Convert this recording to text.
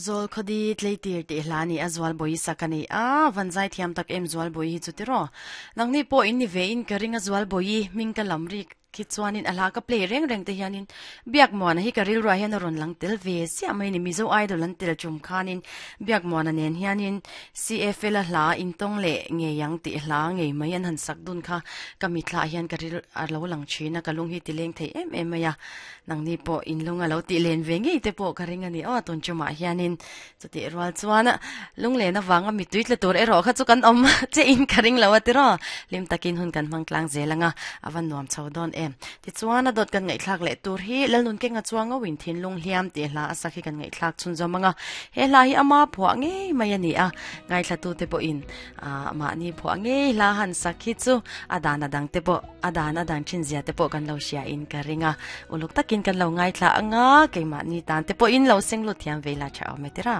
Zawlkhawdi tleitir tih hla ni a Zualbawi sak a ni a, van zai thiam tak em Zualbawi hi chu tiraw. Nangni pawh in ni ve in ka ring a Zualbawi hming ka lam rik khi chuanin a hla ka play reng reng te hianin Biakmuana hi ka rilruah hian a rawn lang tel ve chiah mai a ni. Mizo Idol an tel tum khanin Biakmuana nen hianin CFL a hla intawng leh ngei ang tih hla ngei mai an han sak dun kha ka mitthla ah hian ka ril a lo lang thin a, ka lung hi ti leng thei em em mai a. Nangni pawh in lung a lo tih len ve ngei te pawh ka ring a ni aw tun tumah hianin chutih rual chuan lunglen avanga mittui tla tur erawh kha chu kan awm che in ka ring lo a tiraw hlim takin hun kan hmang tlang zel anga a va nuam chho dawn em. Tichuan a dawt kan ngaihthlak leh tur hi Lalnunkenga chuang ngauh in thinlung hliam tih hla a sak hi kan ngaihthlak chhunzawm anga he hla hi ama phuah ngei mai a ni a ngaithlatute pawhin ah mahni phuah ngei hla han sak hi chu a dan a dang te pawh A dan a dan thin zia te pawh kan lo hria in ka ring a, uluk takin kan lo ngaithla anga keimahni tan te pawhin lo seng lut thiam ve ila tha awm e tira.